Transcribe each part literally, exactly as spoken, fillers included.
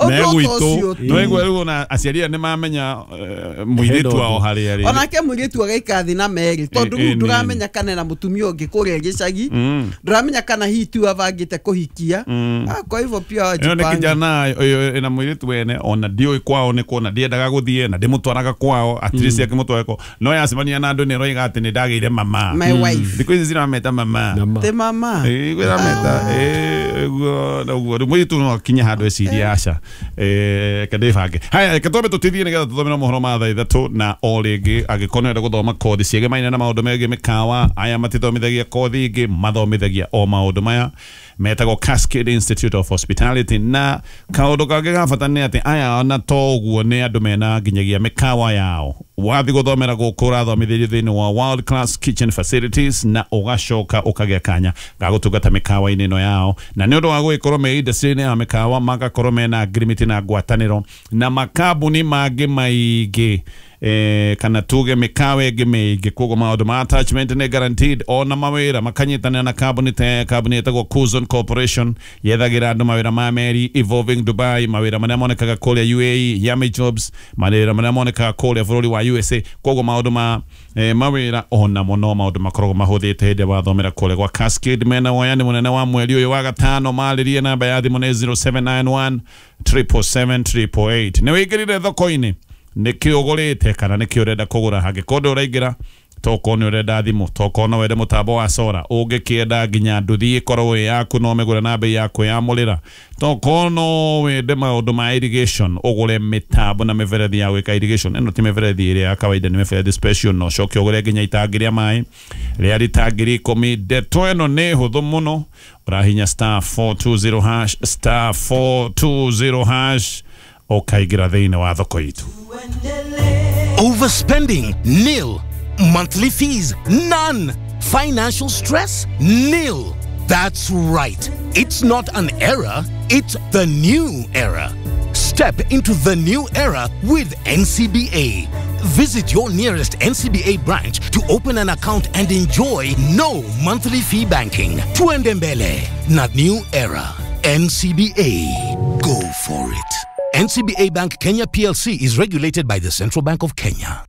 Megwitũ nĩwaigua rĩu ona aciari aya nĩmamenya mũirĩtu wao harĩa arĩ. Onake mũirĩtu agaikara thĩ na merĩ tondũ rĩu ndũramenya kana na mũtumia ũngĩ kũrĩa gĩcagi, ndũramenya kana hihi tu abangĩte kũhikia. Kwa hivyo pia wajipange. Ĩno nĩ kijana ĩna mũirĩtu wene ona ndiũĩ kwao nĩ kuona ndiendaga gũthiĩ na ndĩmũtwaraga kwao at least akĩmũtware kwao no yacemania na andũ nĩ ĩroiga atĩ nĩ ndagĩire mama. My wife. Thikũ ici cirameta mama. Te mama. Ĩĩ irameta ĩĩ ũguo ũguo rĩu mũirĩtu no akinye handũ ecirie aca eh kandĩbange. Haya reke twambe tũtithie nĩgetha tũthome na mohoro ma thaa ithatũ na o rĩngĩ angĩkorwo nĩũrenda gũthoma kothi ciegemaine na maũndũ megiĩ mĩkawa aya matithomithagia kothi ingĩ mathomithagia o maũndũ maya metagwo Cascade Institute of Hospitality. Na kaũndũ kangĩ ga bata nĩ atĩ aya ona to ũguo nĩ andũ mena nginyagia mĩkawa yao. Wathiĩ gũthomera gũkũ ũrathomithĩrio thĩinĩ wa world class kitchen facilities na ũgacoka ũkagĩa kanya ga gũtungata mĩkawa-inĩ ĩno yao, na nĩ ũndũ wa gũgĩkorwo me industry-inĩ ya mĩkawa magakorwo mena agreement na ngwatanĩro na makambuni mangĩ maingĩ eh, kana tuge mĩkawa ĩngĩ mĩingĩ. Koguo maũndũ ma attachment nĩ guaranteed ona mawĩra makanyitanĩra na kambuni ta kambuni ĩtagwo Kuzon Corporation yethagĩra andũ mawĩra ma meri Evolving Dubai, mawĩra marĩa monekaga kũrĩa U A E, Yummy Jobs, mawĩra marĩa monekaga kũrĩa bũrũri wa U S A. Koguo maũndũ ma eh, mawĩra ona mũno maũndũ makoragwo mahũthĩte hĩndĩ wathomera kũrĩa gwa Cascade. Mena woyani mũnene wa mweri ũyũ wa gatano marĩrie namba ya thimũ nĩ zero seven nine one triple seven triple eight. Nĩ wĩingĩrire thoko-inĩ nĩkĩ ũgũrĩte kana nĩkĩ ũrenda kũgũra? Hangĩkorwo ndũraingĩra tokorwo nĩ ũrenda thimũ, tokorwo no wende mũtambo wa sora, ũngĩkĩenda nginya nduthi ĩkorwo ĩ yaku no ũmĩgũre na bei ya kwĩyamũrĩra, tokorwo no wende maũndũ ma irrigation ũgũre mĩtambo na mĩberethi ya gwĩka irrigation. Ĩno ti mĩberethi ĩrĩa ya kawaida, nĩ mĩberethi special, no ũcoke ũgũre nginya itangi rĩa maĩ rĩa rita ngiri ikũmi. Ndeto ĩno nĩ hũthũ mũno, ũrahinya star four two zero hash star four two zero hash ũkaingĩra thĩinĩ wa thoko itũ. Overspending, nil. Monthly fees, none. Financial stress, nil. That's right. It's not an era, it's the new era. Step into the new era with N C B A. Visit your nearest N C B A branch to open an account and enjoy no monthly fee banking. Tuende mbele, not new era. N C B A. Go for it. N C B A Bank Kenya P L C is regulated by the Central Bank of Kenya.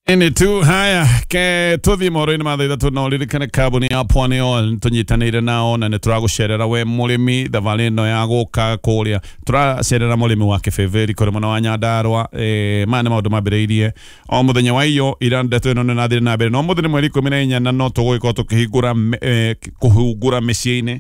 Ini tu haya ke tuthi mohoro-inĩ ma thaa ithatũ na ũririkane kambuni ya Pwani Oil nĩtũnyitanĩire nao na nĩtũragũcerera we mũrĩmi thabarĩ ĩno ya gũka kũrĩa tũracerera mũrĩmi wa Kĩbĩbĩri kũrĩ mwena wa Nyandarũa. Eh, maya nĩ maũndũ mambĩrĩirie o mũthenya wa iyo ira ndeto ĩno nĩrathire na mbere no mũthĩ nĩ mweri ikũmi na inya na no tũgũgĩkorwo tũkĩhingũra eh, kũhungura mĩciĩ-inĩ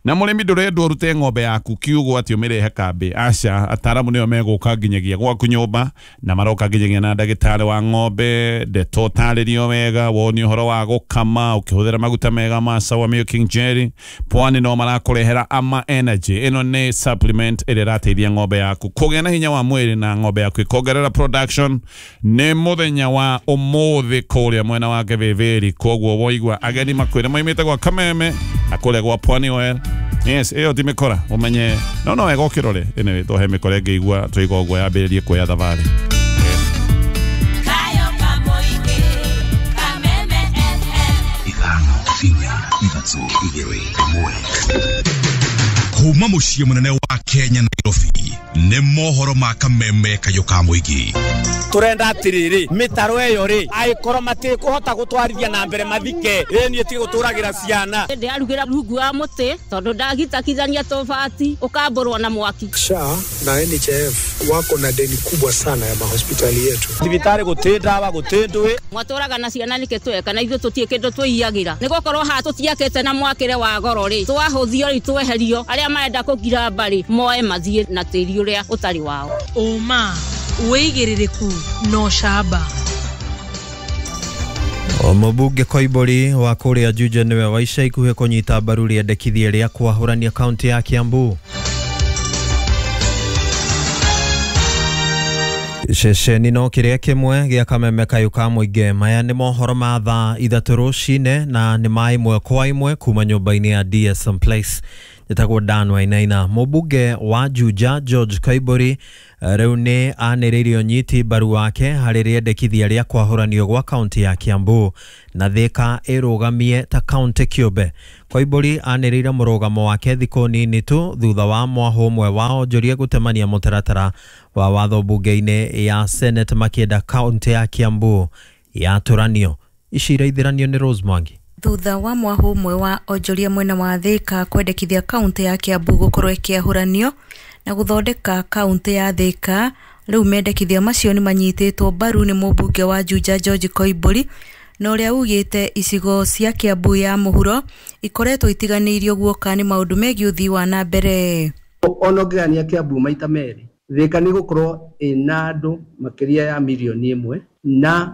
na mũrĩmi ndũrendwo ũrute ng'ombe yaku kiugo atĩ ũmĩrehe kambĩ. Aca, ataaramu nĩo megũka nginyagia gwaku nyũmba na maroka nginyagia na ndagĩtarĩ wa ng'ombe. Ndeto ũtarĩrio wega wonio ũhoro wa gũkama ũkĩhũthĩra maguta mega ma Sawa Milking Jelly. Pwani no marakũrehera Ama Energy. Ĩno nĩ supplement ĩrĩa ĩrateithia ng'ombe yaku kũgĩa na hinya wa mwĩrĩ na ng'ombe yaku ĩkongerera production. Nĩ mũthenya wa ũmũthĩ kũrĩa mwena wa Kĩbĩbĩri, koguo woigua ageni makwĩre maimĩte gwa Kameme na kũrĩa gwa Pwani Oil. Yes, ĩyo ti mĩkora ũmenye no no wega ũkĩrore. Anyway, tũhe mĩkora ĩngĩigua twaigua ũguo yambĩrĩrie kuoya thabarĩ. Ithano inya ithatũ igĩrĩ ĩmwe. Kuma mũciĩ mũnene wa Kenya Nairobi nĩ mohoro ma Kameme kayũ ka mũingĩ. Turenda atiriri mitaro eyo ri aikorwo matikuhota gutwarithia na mbere mathike ĩ niĩ ti guturagira ciana ndiarugira rungu wa muti tondu ndagitakithania tobati ukamburwo na mwaki. S H A na N H I F wako na deni kubwa sana ya mahospitali yetu. Thibitari guti ndawa guti ndui mwaturaga na ciana nike tweka na ithuĩ tutie kindu twiyagira nigukorwo ha tutiakite na mwakire wa goro ri twahuthio ri tweherio aria marenda kugira mbari moe mathie na tiri uria utari wao. Uma wĩigĩrĩrĩku no camba. Mũmbunge Koimbũri wa kũrĩa Juja nĩwe wa ica ikuhĩ kũnyita mbaru rĩendekithia rĩa kwahũrania kaunti ya Kiambu. Ceceni no kĩrĩa kĩmwe gĩa Kameme kayũ ka mũingĩ. Maya nĩ mohoro ma thaa ithatũ rũcinĩ na nĩ ma ĩmwe kwa ĩmwe kuma nyũmba-inĩ ya D S M Place. Njĩtagwo Dan Wainaina. Mũmbunge wa Juja George Koimburi rĩu nĩ anĩrĩirie ũnyiti mbaru wake harĩ rĩendekithia rĩa kwahũranio gwa kaunti ya Kiambu na Thika ĩrũgamie ta kaunti kĩũmbe. Koimburi anĩrĩire mũrũgamo wake thikũ nini tu thutha wa mwahũ ũmwe wa onjoria gũtemania mũtaratara wa watho mbunge-inĩ ya Senate makĩenda kaunti ya Kiambu yatũranio. Ici iraithĩranio nĩ Rose Mwangi. Thutha wa mwahũ ũmwe wa onjoria mwena wa Thika kwendekithia kaunti ya Kiambu gũkorwo ĩkĩahũranio na gũthondeka kaunti ya Thika, rĩu mendekithia macio nĩ manyitĩtwo mbaru nĩ mũmbunge wa Juja George Koimburi na ũrĩa ugĩte icigo cia Kiambu ya mũhuro ikoretwo itiganĩirio guoka nĩ maũndũ megiĩ ũthii wa na mbere. Ona ũngĩgania Kiambu maita merĩ, Thika nĩ gũkorwo ĩna andũ makĩria ya mirioni ĩmwe na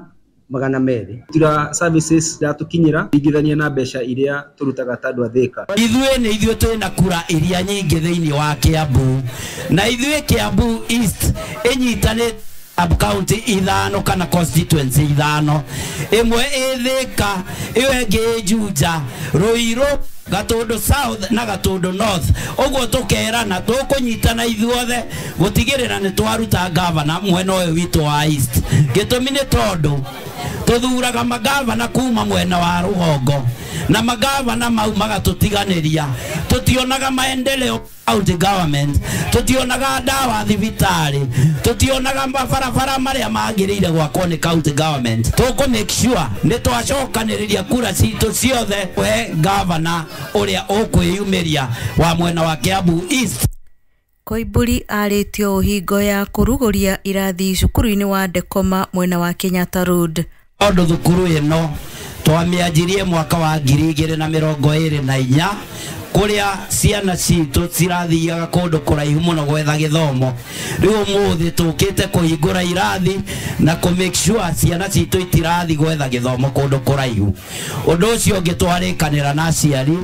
magana merĩ. Tira services iratukinyira ingithania na mbeca iria turutaga ta andu a Thika. Ithuĩ nĩ ithuĩ twĩna kura iria nyingĩ thĩinĩ wa Kiambu, na ithuĩ Kiambu East ĩnyitanĩte sub county ithano kana constituency ithano, ĩmwe ĩ Thika, ĩyo ĩngĩ ĩ Juja, Ruiru, Gatundu South na Gatundu North. Ũguo tũkerana tũkũnyitana ithuothe gũtigĩrĩra nĩ twaruta gavana mwena ũyũ witũ wa East. Gĩtũmi nĩ tondũ tũthuraga magavana kuma mwena wa rũgongo na magavana mau magatũtiganĩria. Tũtionaga maendeleo county government, tũtionaga ndawa thibitarĩ, tũtionaga mabarabara marĩa magĩrĩire gwakwo nĩ county government. Tũkũ make sure nĩ twacokanĩrĩria kura citũ ciothe we gavana ũrĩa ũkwĩyumĩria wa mwena wa Kiambu East. Koimburi arĩtio ũhingo ya kũrugũria irathi cukuru-inĩ wa Ndekoma mwena wa Kenyatta Road. Tondũ thukuru ĩno twamĩanjirie mwaka wa ngiri igĩrĩ na mĩrongo ĩrĩ na inya kũrĩa ciana citũ cirathiaga kũndũ kũraihu mũno gwetha gĩthomo. Rĩu ũmũthĩ tũkĩte kũhingũra irathi na kũ make sure ciana citũ itirathi gwetha gĩthomo kũndũ kũraihu. Ũndũ ũcio ũngĩ twarĩkanĩra na aciari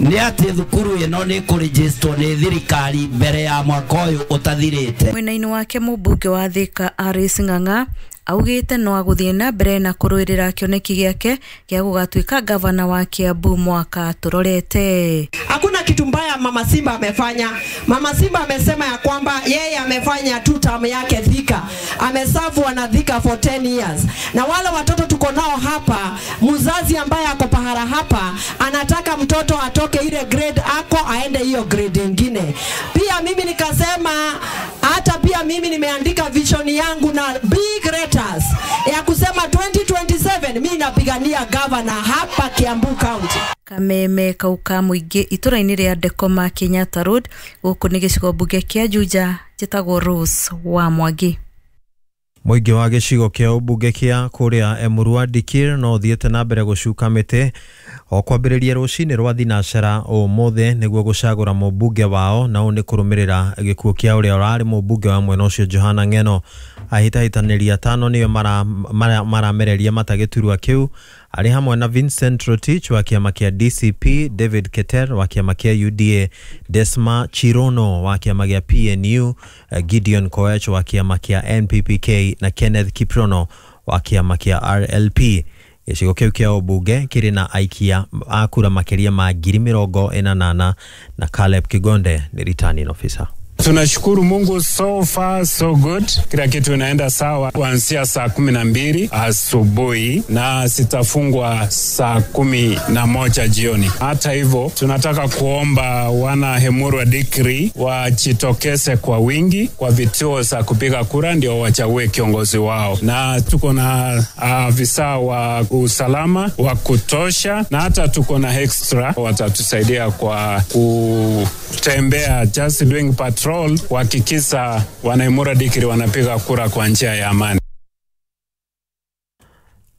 nĩ atĩ thukuru ĩno nĩ kũrĩgĩstwo nĩ thirikari mbere ya mwaka ũyũ ũtathirĩte. Mwena-inĩ wake mũmbunge wa Thika Alice Ng'ang'a augĩte no agũthiĩ na mbere na kũrũĩrĩra kĩoneki gĩake gĩa gũgatuĩka gavana wa Kiambu mwaka tũrorete. Hakuna kitu mbaya Mama Simba amefanya. Mama Simba amesema ya kwamba yeye amefanya two term yake Thika. Ameserve wana Thika for ten years. Na wale watoto tuko nao hapa, mzazi ambaye ako pahala hapa anataka mtoto atoke ile grade ako aende hiyo grade nyingine. Pia mimi nikasema hata pia mimi nimeandika vision yangu na big letters ya kusema twenty twenty-seven mimi napigania governor hapa Kiambu County. Kameme kauka mũingĩ itũra-inĩ rĩa Ndekoma Kenyatta Road gũkũ nĩ gĩcigo mbunge kĩa Juja njĩtagwo Rose wa Mwangi. Mũingĩ wa gĩcigo kĩa ũmbunge kĩa kũrĩa Emurua Dikirr no ũthiĩte na mbere gũcuka mĩtĩ o kwambĩrĩria rũcinĩ rwa thinacera ũmũthĩ nĩguo gũcagũra mũmbunge wao, na ũũ nĩ kũrũmĩrĩra gĩkuũ kĩa ũrĩa ũrarĩ mũmbunge wa mwena ũcio Johana Ng'eno. Ahĩtahĩtanĩri atano nĩo maramereria mata gĩturwa kĩu arĩ hamwe na Vincent Rotich wa kĩama kĩa D C P, David Keter wa kĩama kĩa U D A, Desma Chirono wa kĩama gĩa P N U, Gideon Koech wa kĩama kĩa N P P K na Kenneth Kiprono wa kĩama kĩa R L P. Gĩcigo kĩu kĩa ũmbunge kĩrĩ na aikia a kura makĩria ma ngiri mĩrongo ĩnanana na Caleb Kigonde nĩ returning officer. Tunashukuru Mungu, so far so good. Kila kitu inaenda sawa kuanzia saa kumi na mbili asubuhi na sitafungwa saa kumi na moja jioni. Hata hivyo, tunataka kuomba wana Emurua Dikirr wajitokeze kwa wingi kwa vituo za kupiga kura ndio wachague kiongozi wao. Na tuko na afisa wa usalama wa kutosha na hata tuko na extra watatusaidia kwa kutembea, just doing patrol kuhakikisha wana Emurua Dikirr wanapiga kura kwa njia ya amani.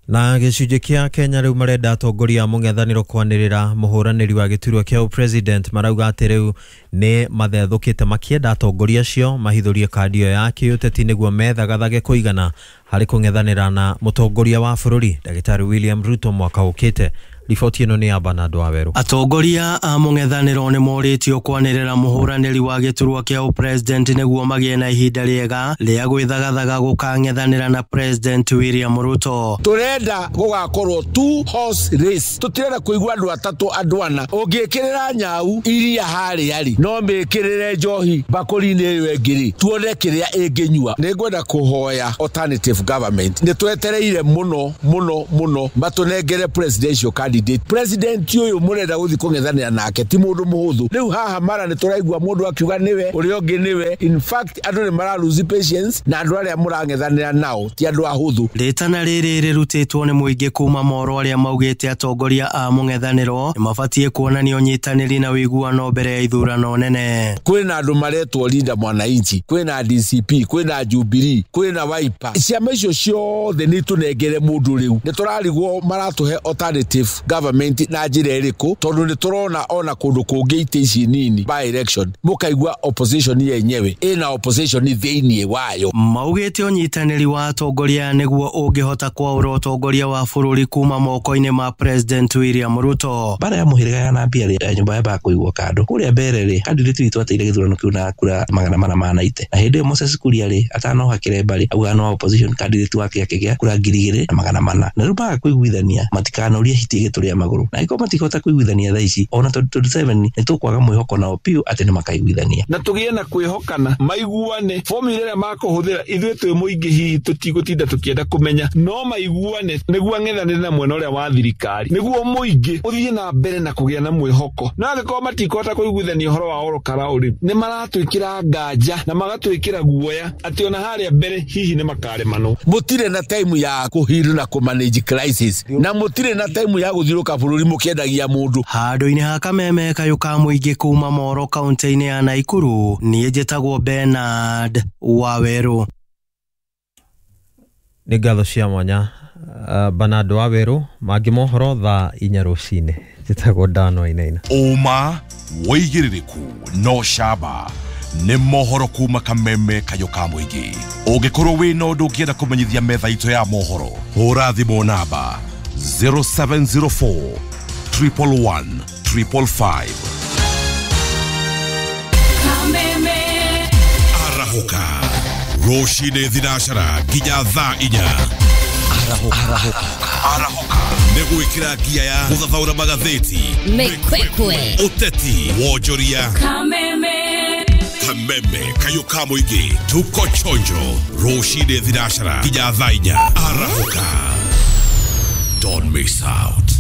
Na gĩcunjĩ kĩa Kenya rĩu marenda atongoria a mũng'ethanĩro kwanĩrĩra mũhũranĩri wa gĩturwa kĩa president marauga atĩ rĩu nĩ mathethũkĩte makĩenda atongoria acio mahithũrie kandi ĩyo ya kĩũteti nĩguo methagathage kũigana harĩ kũng'ethanĩra na mũtongoria wa bũrũri Ndagĩtarĩ William Ruto mwaka ũkĩte. Riboti ĩno nĩ ya Bernard Waweru. Atongoria a mũng'ethanĩro nĩ morĩtio kwanĩrĩra mũhũranĩri wa gĩturwa kĩa ũpresident nĩguo magĩe na ihinda rĩega rĩa gwĩthagathaga gũkang'ethanĩra na President William Ruto. Tũrenda gũgakorwo two horse race, tũtirenda kũigua andũ atatũ andũ ana. Ũngĩkĩrĩra nyau iria harĩa rĩ, no mĩkĩrĩre njohi mbakũri-inĩ ĩyo ĩngĩ rĩ, tuone kĩrĩa ĩngĩnyua. Nĩngwenda kũhoya alternative government, nĩ twetereire mũno mũno mũno matũnengere presidential candidate. President ũyũ mũrenda gũthiĩ kũng'ethanĩra nake ti mũndũ mũhũthũ. Rĩu haha mara nĩ tũraigua mũndũ akiuga nĩwe ũrĩa ũngĩ nĩwe. In fact andũ nĩ mara lose patience na andũ arĩa mũrang'ethanĩra nao ti andũ ahũthũ. Rĩtana rĩrĩ rĩrutĩtwo nĩ mũingĩ kuma moro arĩa maugĩte atongoria a mũng'ethanĩro nĩ mabatiĩ kuonania ũnyitanĩri na ũiguano mbere ya ithurano nene. Kwĩna andũ maretwo Linda Mwananchi, kwĩna D C P, kwĩna Jubilee, kwĩna Wiper. Ciama icio ciothe nĩ tũnengere mũndũ rĩu. Nĩ tũrarigwo maratũhe alternative government na njĩra ĩrĩkũ, tondũ nĩ tũrona ona kũndũ kũngĩ itĩ ici nini by election mũkaigua opposition yenyewe ĩna opposition thĩinĩ wayo. Maugĩte ũnyitanĩri wa atongoria nĩguo ũngĩhota kwaũra ũtongoria wa bũrũri kuma moko-inĩ ma President William Ruto. Bara ya mũhĩrĩga ya nambia rĩ, ya nyũmba ya kũigwo kando kũrĩa mbere rĩ, candidate witũ ateire gĩthurano kĩu na kura magana mana ma naite, na hĩndĩ ĩyo Moses Kuria rĩ atanoha kĩremba rĩ auga no opposition candidate wake akĩgĩa kura ngiri igĩrĩ na magana mana, na rĩu maga kũiguithania matikanorie hiti ĩgĩtũrĩa magũrũ, na angĩkorwo matikũhota kũiguithania thaa ici ona twenty twenty-seven nĩ tũkwaga mwĩhoko nao biũ atĩ nĩ makaiguithania na tũgĩe na kwĩhokana, maiguane formula ĩrĩa makũhũthĩra. Ithuĩ twĩ mũingĩ hihi tũtigũtinda tũkĩenda kũmenya, no maiguane nĩguo ang'ethanĩre na mwena ũrĩa wa thirikari, nĩguo mũingĩ ũthiĩ na mbere na kũgĩa na mwĩhoko. No angĩkorwo matikũhota kũiguithania ũhoro wa oro karaũrĩ, nĩ maratwĩkĩra nganja na magatwĩkĩra guoya atĩ ona harĩa mbere hihi nĩ makaremanwo. Mũtirĩ na time ya kũhiru na kũmanage crisis, na mũtirĩ na time ya gũthiũrũka bũrũri mũkĩendagia mũndũ. Handũ-inĩ ha kameme kayũ ka mũingĩ kuma Moro kaunti-inĩ ya Naikuru, niĩ njĩtagwo Bernard Waweru. Nĩ ngatho cia mwanya uh, Bernard Waweru. Mangĩ mohoro thaa inya rũcinĩ. Njĩtagwo Dan Wainaina. Ũma wĩigĩrĩrĩku no camba nĩ mohoro kuma kameme kayũ ka mũingĩ. Ũngĩkorwo wĩna ũndũ ũngĩenda kũmenyithia metha itũ ya mohoro, hũra thimũ namba zero seven zero four triple one triple five. Kameme arahũka rũcinĩ thinacara nginya thaa inya. Arahũka arahũka nĩ gwĩkĩra ngia ya gũthathaũra magathĩti, mĩkwekwe, ũteti, wonjoria. Kameme kameme kayũ ka mũingĩ, tuko chonjo rũcinĩ thinacara nginya thaa inya. Arahũka, don't miss out.